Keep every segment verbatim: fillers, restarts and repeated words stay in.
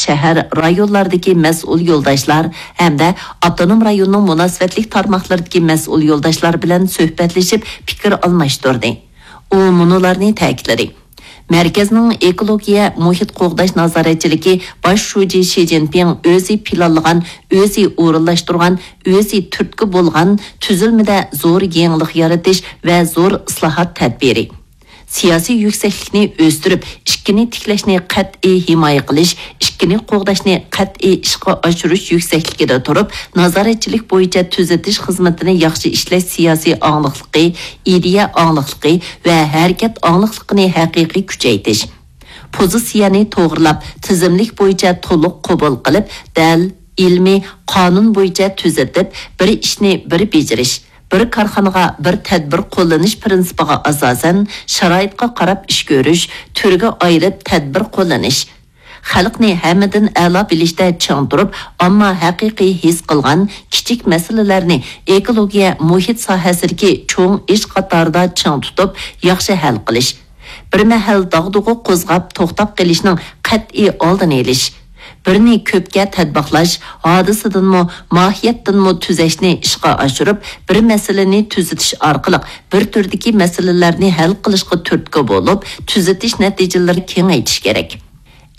شەھەر، رايونلاردىكى مەسئۇل يولداشلار ھەمدە ئاپتونوم رايوننىڭ مۇناسىۋەتلىك تارماقلىرىدىكى مەسئۇل يولداشلار بىلەن سۆھبەتلىشىپ پىكىر ئالماشتۇردى. ئۇ مۇنۇلارنى تەكىتلىدى. مەركەزنىڭ ئېكولوگىيە مۇھىت قوغداش نازارەتچىلىكى باش شۇجى شى جىنپىڭ ئۆزى پىلانلىغان، ئۆزى ئورۇنلاشتۇرغان، ئۆزى تۈرتكە بولغان تۈزۈلمىدە زور يېڭىلىق يارىتىش ۋە زور ئىسلاھات تەدبىرى. سىياسىي يۈكسەكلىكنى ئۆستۈرۈپ، ئىككىنى تىكلەشنى قەتئىي ھىمايە قىلىش، ئىككىنى قوغداشنى قەتئىي ئىشقا ئاشۇرۇش يۈكسەكلىكىدە تۇرۇپ، نازارەتچىلىك بويىچە تۈزىتىش خىزمىتىنى ياخشى ئىشلەش سىياسىي ئاڭلىقلىقى، ئىدىيە ئاڭلىقلىقى ۋە ھەرىكەت ئاڭلىقلىقىنى ھەقىقىي كۈچەيتىش. پوزىتسىيەنى توغرىلاپ، تىزىملىك بويىچە تولۇق قوبۇل قىلىپ، دەل، ئىلمىي، قانۇن بويىچە تۈزىتىپ، بىر ئىشنى بىر بېجىرىش، بىر كارخانىغا بىر تەدبىر قوللىنىش پىرىنسىپىغا ئاساسەن، شارائىتقا قاراپ ئىش كۆرۈش، تۈرگە ئايرىپ تەدبىر قوللىنىش، خەلقنى ھەممىدىن ئەلا بىلىشتە چىڭ تۇرۇپ، ئامما ھەقىقىي ھېس قىلغان كىچىك مەسىلىلەرنى ئېكولوگىيە مۇھىت ساھەسىدىكى چوڭ ئىش قاتارىدا چىڭ تۇتۇپ، ياخشى ھەل قىلىش. بىر مەھەل داغدۇغا قوزغاپ توختاپ قېلىشنىڭ قەتئىي ئالدىنى ئېلىش. بىرنى كۆپكە تەتبىقلاش، ھادىسىدىنمۇ، ماھىيەتتىنمۇ تۈزەشنى ئىشقا ئاشۇرۇپ، بىر مەسىلىنى تۈزىتىش ئارقىلىق بىر تۈردىكى مەسىلىلەرنى ھەل قىلىشقا تۈرتكە بولۇپ، تۈزىتىش نەتىجىلىرىنى كېڭەيتىش كېرەك.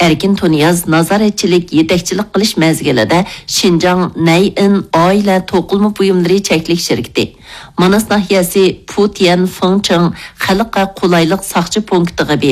ئەركىن تۇنىياز نازارەتچىلىك، يېتەكچىلىك قىلىش مەزگىلىدە شىنجاڭ نەيئىن ئائىلە توقۇلما بۇيۇملىرى چەكلىك شىركىتى، ماناس ناھىيەسى پۇتيەن فېڭچىڭ خەلققە قولايلىق ساقچى پونكىتىغا بېرىپ،